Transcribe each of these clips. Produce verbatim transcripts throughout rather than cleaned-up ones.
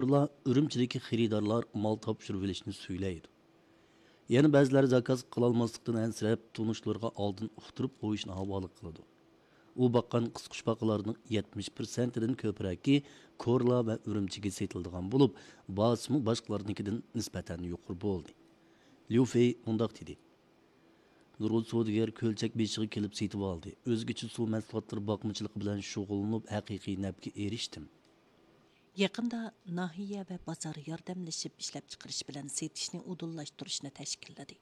ئۇلار ئۈرۈمچىدىكى خېرىدارلار مال تاپشۇرۇۋېلىشنى سۈيلەيدۇ. يەنە بەزىلەر زاكاز قىلالماسلىقتىن ئەنسىرەپ، تونۇشلىرىغا ئالدىن ئۇقتۇرۇپ قويۇشنى ھاۋالە قىلىدۇ. ئۇ باققان قىسقۇچپاقىلارنىڭ يەتمىش پىرسەنتىدىن كۆپرەكى كورلا ۋە ئۈرۈمچىگە سېتىلىدىغان بولۇپ، باھاسىمۇ باشقىلارنىڭكىدىن نىسبەتەن يۇقىرى بولدى. ليۇ فېي مۇنداق دېدى: نۇرغۇن سودىگەر كۆلچەك بېشىغا كېلىپ سېتىۋالدى. ئۆزگىچە سۇ مەھسۇلاتلىرى باقمىچىلىقى بىلەن شۇغۇللىنىپ، ھەقىقىي نەپكە ئېرىشتىم. يېقىندا ناھىيە ۋە بازار ياردەملىشىپ ئىشلەپچىقىرىش بىلەن سېتىشنى ئۇدۇللاشتۇرۇشنى تەشكىللىدى.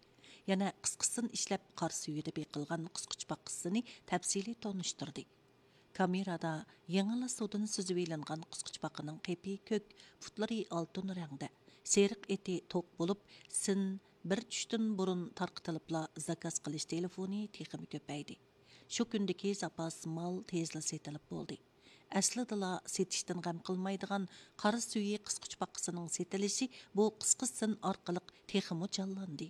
يەنە قىسقىسىن ئىشلەپ، قار سۈيىدە بېقىلغان قىسقۇچپاقىسىنى تەپسىلىي تونۇشتۇردى. كامېرادا يېڭىلا سۇدىن سۈزۈۋېلىنغان قىسقۇچپاقىنىڭ قېپى كۆك، پۇتلىرى ئالتۇن رەڭدە، سېرىق ئېتى توق بولۇپ، سىن بىر چۈشتىن بۇرۇن تارقىتىلىپلا زاكاز قىلىش تېلېفونى تېخىمۇ كۆپەيدى. شۇ كۈندىكى زاپاس مال تېزلا سېتىلىپ بولدى. ئەسلىدىلا سېتىشتىن غەم قىلمايدىغان قار سۈيى قىسقۇچپاقىسىنىڭ سېتىلىشى بۇ قىسقا سىن ئارقىلىق تېخىمۇ جانلاندى.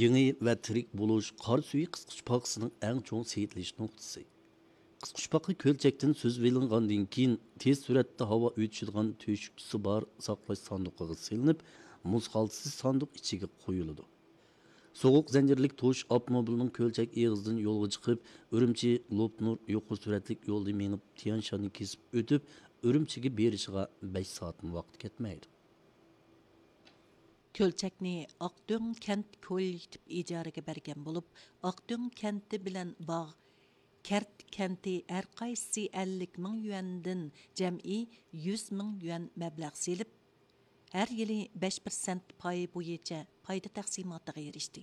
يېڭى ۋە تىرىك بولۇش قار سۈيى قىسقۇچپاقىسىنىڭ ئەڭ چوڭ سېتىلىش نۇقتىسى. قىسقۇچپاقا كۆلچەكتىن سۈزۈۋېلىنغاندىن كېيىن، تېز سۈرئەتتە ھاۋا ئۆتۈشىدىغان تۆشۈكچىسى بار ساقلاش ساندۇقىغا سېلىنىپ، مۇز خالتىسى ساندۇق ئىچىگە قويۇلىدۇ. سوغۇق زەنجىرلىك توش ئاپتوموبىلنىڭ كۆلچەك ئېغىزىدىن يولغا چىقىپ، ئۈرۈمچى لوپنۇر يۇقىرى سۈرئەتلىك يولىدا مېڭىپ، تيەنشاننى كېسىپ ئۆتۈپ، ئۈرۈمچىگە بېرىشىغا بەش سائەتمۇ ۋاقىت كەتمەيدۇ. كۆلچەكنى ئاقدۆڭ كەنت كوللېكتىپ ئىجارىگە بەرگەن بولۇپ، ئاقدۆڭ كەنتى بىلەن باغ كەرت كەنتى ھەر قايسىسى ئەللىك مىڭ يۈەندىن جەمئىي يۈز مىڭ يۈەن مەبلەغ سېلىپ، ھەر يىلى بەش پىرسەنت پاي بويىچە پايدا تەقسىماتىغا ئېرىشتى.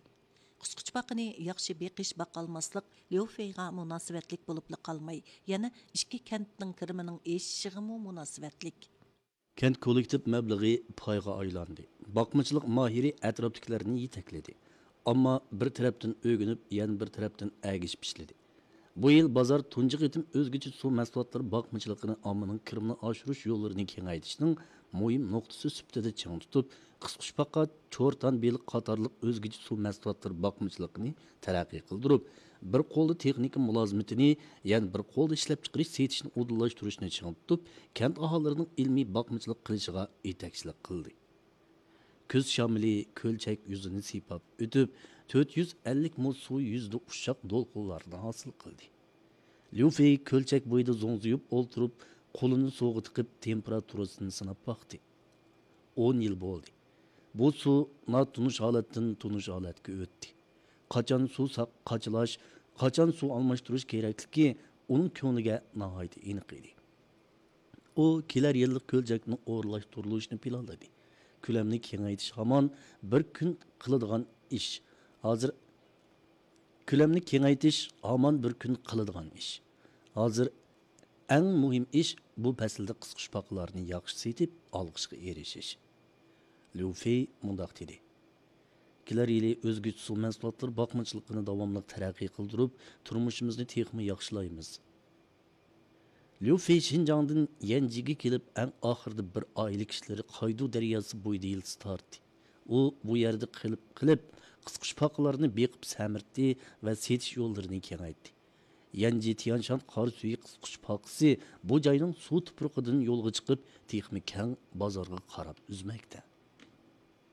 قىسقۇچپاقىنى ياخشى بېقىش، باقالماسلىق ليۇ فېيغا مۇناسىۋەتلىك بولۇپلا قالماي، يەنە ئىككى كەنتنىڭ كىرىمىنىڭ ئېشىشىغىمۇ مۇناسىۋەتلىك. كەنت كوللېكتىپ مەبلىغى پايغا ئايلاندى. باقمىچىلىق ماھىرى ئەتراپتىكىلەرنى يېتەكلىدى. ئامما بىر تەرەپتىن ئۆگىنىپ، يەنە بىر تەرەپتىن ئەگىشىپ ئىشلىدى. بۇ يىل بازار تۇنجى قېتىم ئۆزگىچە سۇ مەھسۇلاتلىرى باقمىچىلىقىنى ئاممىنىڭ كىرىمىنى ئاشۇرۇش يوللىرىنى كېڭەيتىشنىڭ مۇھىم نۇقتىسى سۈپىتىدە چىڭ تۇتۇپ، قىسقۇچپاقا، چورتان بېلىق قاتارلىق ئۆزگىچە سۇ مەھسۇلاتلىرى باقمىچىلىقىنى تەرەققىي قىلدۇرۇپ، بىر قولدا تېخنىكا مۇلازىمىتىنى، يەنە بىر قولدا ئىشلەپچىقىرىش سېتىشنى ئۇدۇللاشتۇرۇشنى چىڭ تۇتۇپ، كەنت ئاھالىلىرىنىڭ ئىلمىي باقمىچىلىق قىلىشىغا يېتەكچىلىك قىلدى. كۈز شامىلى كۆلچەك يۈزىنى سىيپاپ ئۆتۈپ، تۆت يۈز ئەللىك مو سۇ يۈزىدە ئۇششاق دولقۇنلارنى ھاسىل قىلدى. ليۇ فېي كۆلچەك بويىدا زوڭزىيىپ ئولتۇرۇپ، قولىنى سۇغا تىقىپ، تېمپېراتۇرىسىنى سىناپ باقتى. ئون يىل بولدى. بۇ سۇ ناتونۇش ھالەتتىن تونۇش ھالەتكە ئۆتتى. قاچان سۇ ساق-، قاچىلاش، قاچان سۇ ئالماشتۇرۇش كېرەكلىكى ئۇنىڭ كۆڭلىگە ناھايىتى ئېنىق ئىدى. ئۇ كېلەر يىللىق كۆلچەكنى ئورۇنلاشتۇرۇلۇشىنى پىلانلىدى. كۆلەمنى كېڭەيتىش ھامان بىر كۈن قىلىدىغان ئىش. ھازىر كۆلەمنى كېڭەيتىش ھامان بىر كۈن قىلىدىغان ئىش. ھازىر ئەڭ مۇھىم ئىش بۇ پەسىلدە قىسقۇچپاقىلارنى ياخشى سېتىپ، ئالقىشقا ئېرىشىش. ليۇ فېي مۇنداق دېدى: كېلەر يىلى ئۆزگىچە سۇ مەھسۇلاتلىرى باقمىچىلىقىنى داۋاملىق تەرەققىي قىلدۇرۇپ، تۇرمۇشىمىزنى تېخىمۇ ياخشىلايمىز. ليۇ فېي شىنجاڭدىن يەنجىگە كېلىپ، ئەڭ ئاخىرىدا بىر ئائىلە كىشىلىرى قايدۇ دەرياسى بويىدا يىلتىز تارتتى. ئۇ بۇ يەردە قېلىپ، قېلىپ، قىسقۇچپاقىلارنى بېقىپ سەمرىتتى ۋە سېتىش يوللىرىنى كېڭەيتتى. يەنجى تيانشان قار سۈيى قىسقۇچپاقىسى بۇ جاينىڭ سۇ تۇپرىقىدىن يولغا چىقىپ، تېخىمۇ كەڭ بازارغا قاراپ ئۈزمەكتە.